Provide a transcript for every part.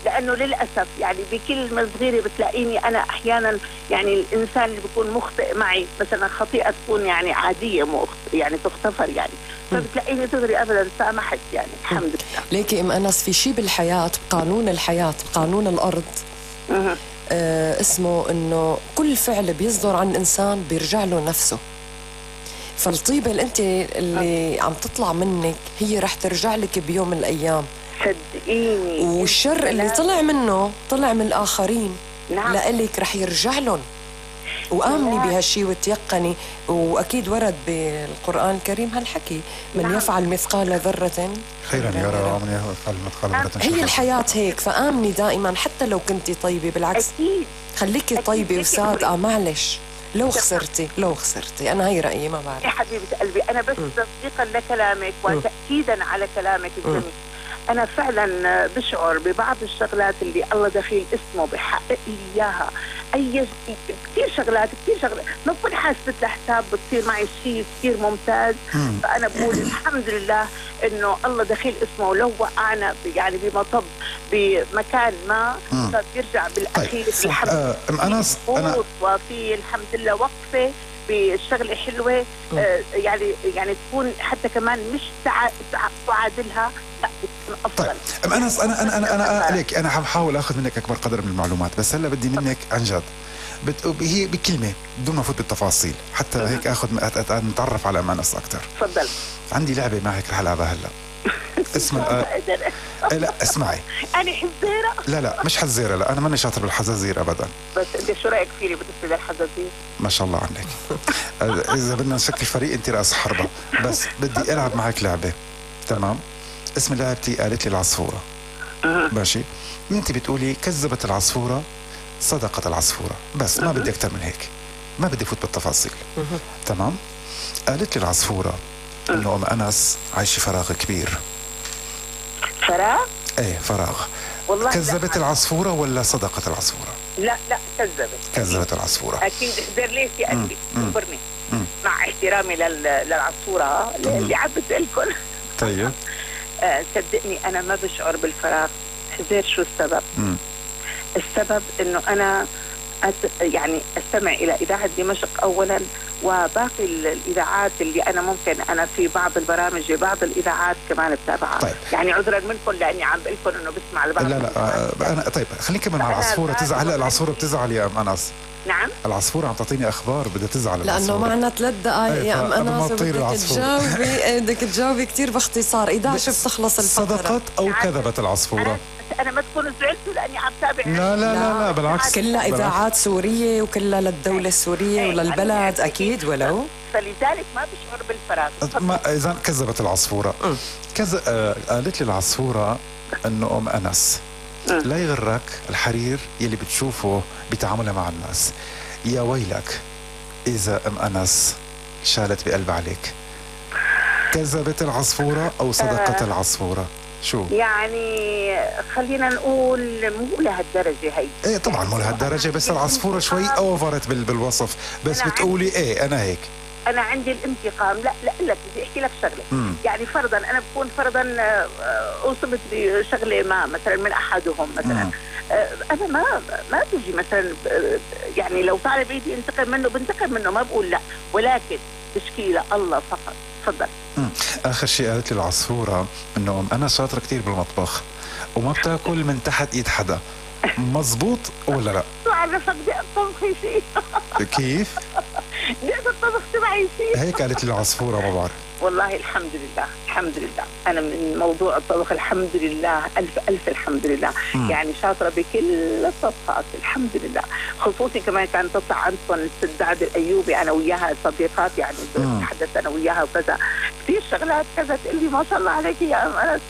لانه للاسف يعني بكلمه صغيره بتلاقيني انا احيانا يعني الانسان اللي بيكون مخطئ معي مثلا خطيئه تكون يعني عاديه مو يعني تغتفر يعني، فبتلاقيني دغري ابدا سامحت يعني الحمد لله. ليكي ام انس في شيء بالحياه، بقانون الحياه، بقانون الارض اسمه انه كل فعل بيصدر عن انسان بيرجع له نفسه. فالطيبه اللي انت اللي عم تطلع منك هي رح ترجع لك بيوم من الايام، صدقيني. والشر اللي طلع منه طلع من الاخرين، نعم. لإلك رح يرجع لهم. وآمني بهالشي وتيقني، وأكيد ورد بالقرآن الكريم هالحكي: من يفعل مثقال ذرة خيرا يرى ومن يفعل مثقال ذرة هي الحياة هيك. فآمني دائما حتى لو كنتي طيبة، بالعكس أكيد خليكي طيبة وصادقة. معلش لو خسرتي أنا هي رأيي، ما بعرف يا حبيبة قلبي. أنا بس تصديقا لكلامك وتأكيدا على كلامك الجميل، أنا فعلا بشعر ببعض الشغلات اللي الله دخيل اسمه بحقق لي إياها. كثير شغلات ما بكون حاسبة لحساب بتصير معي شيء كثير ممتاز. فأنا بقول الحمد لله إنه الله دخيل اسمه، ولو وقعنا يعني بمطب بمكان ما فبيرجع بالأخير. طيب. الحمد لله وفي الحمد لله وقفة بشغلة حلوة يعني تكون حتى كمان مش تعادلها، لا بتكون أفضل. طيب أنس، أنا ليك أنا حاول أخذ منك أكبر قدر من المعلومات، بس هلا بدي منك عن جد هي بكلمة بدون ما أفوت بالتفاصيل حتى هيك أخذ نتعرف على أنس أكثر. تفضل. عندي لعبة معك رح ألعبها هلا اسمها لا اسمعي، أنا حزيرة. لا مش حزيرة، لا أنا ماني شاطر بالحزازير أبدا. بس أنت شو رأيك فيني بالنسبة للحزازير؟ ما شاء الله عنك. إذا بدنا نشكل فريق أنت رأس حربة. بس بدي ألعب معك لعبة، تمام؟ اسم لعبتي قالت لي العصفورة. ماشي؟ أنت بتقولي كذبت العصفورة صدقت العصفورة، بس ما بدي أكتر من هيك، ما بدي فوت بالتفاصيل. تمام؟ قالت لي العصفورة إنه أم أنس عايشة فراغ كبير. فراغ؟ ايه فراغ. والله كذبت العصفورة ولا صدقت العصفورة؟ لا كذبت العصفورة. أكيد. اخبر ليش يا قلبي، اخبرني. مع احترامي للعصفورة اللي عبت لكم. طيب. صدقني أنا ما بشعر بالفراغ. حزير شو السبب؟ السبب إنه أنا يعني استمع إلى إذاعة دمشق أولا، وباقي الإذاعات اللي أنا ممكن أنا في بعض البرامج بعض الإذاعات كمان بتابعها. طيب. يعني عذرا منكم لأني عم بقول لكم إنه بسمع البعض. لا أنا طيب خلينا نكمل مع العصفورة. تزعل هلا العصفورة بتزعل يا أم أنس. نعم العصفورة عم تعطيني أخبار بدها تزعل لأنه معنا 3 دقائق يا أم أنس، بدك تجاوبي كثير باختصار. إذا شو بتخلص الفقرة؟ صدقت أو كذبت العصفورة؟ أنا ما تكونوا زعلتوا لأني عم تابع. لا بالعكس، كلها إذاعات سورية وكلها للدولة السورية وللبلد أكيد. ولو فلذلك ما بشعر بالفراغ. إذا كذبت العصفورة قالت لي العصفورة إنه أم أنس لا يغرك الحرير يلي بتشوفه بتعاملها مع الناس. يا ويلك إذا أم أنس شالت بقلب عليك. كذبت العصفورة أو صدقت العصفورة؟ شو؟ يعني خلينا نقول مو لهالدرجة هي. ايه طبعا مو لهالدرجة، بس العصفورة شوي اوفرت بالوصف، بس بتقولي ايه انا هيك. انا عندي الانتقام. لا لك بدي احكي لك شغله. يعني فرضا انا بكون فرضا اصبت بشغله ما مثلا من احدهم مثلا، انا ما بيجي مثلا يعني لو طالب ايدي انتقم منه بنتقم منه، ما بقول لا، ولكن تشكيله الله فقط. تفضل. اخر شيء قالت لي العصفوره انه انا شاطره كثير بالمطبخ وما بتاكل من تحت ايد حدا. مزبوط ولا لا؟ شو عرفك بدي اطبخ شيء؟ كيف؟ بدي الطبخ تبعي شيء. هيك قالت لي العصفوره. ما بعرف والله الحمد لله أنا من موضوع الطبخ الحمد لله ألف الحمد لله. يعني شاطرة بكل الطبخات الحمد لله. خصوصي كمان كانت تطلع عندكم السداد الأيوبي أنا وياها صديقات يعني تحدث أنا وياها وكذا كثير شغلات كذا تقول لي ما شاء الله عليك يا أم أنس.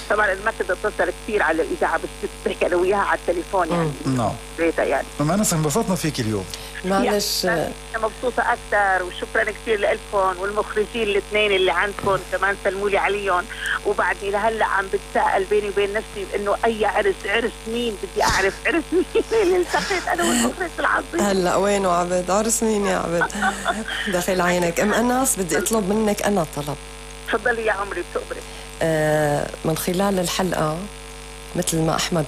طبعا ما كنت أتصل كثير على الإذاعة بس بحكي أنا وياها على التليفون يعني. نعم. بيتها يعني. أم أنس انبسطنا فيك اليوم. معلش أنا مبسوطة أكثر وشكرا كثير لكم والمخرجين الاثنين اللي عندكم كمان سلموا لي عليهم. وبعدني لهلا عم بتساءل بيني وبين نفسي انه اي عرس مين بدي اعرف عرس مين اللي التقيت انا والمخرج العظيم. هلا وينه عبد؟ عرس مين يا عبد؟ داخل عينك. ام انس بدي اطلب منك انا طلب. تفضلي يا عمري بتقبري. من خلال الحلقه مثل ما احمد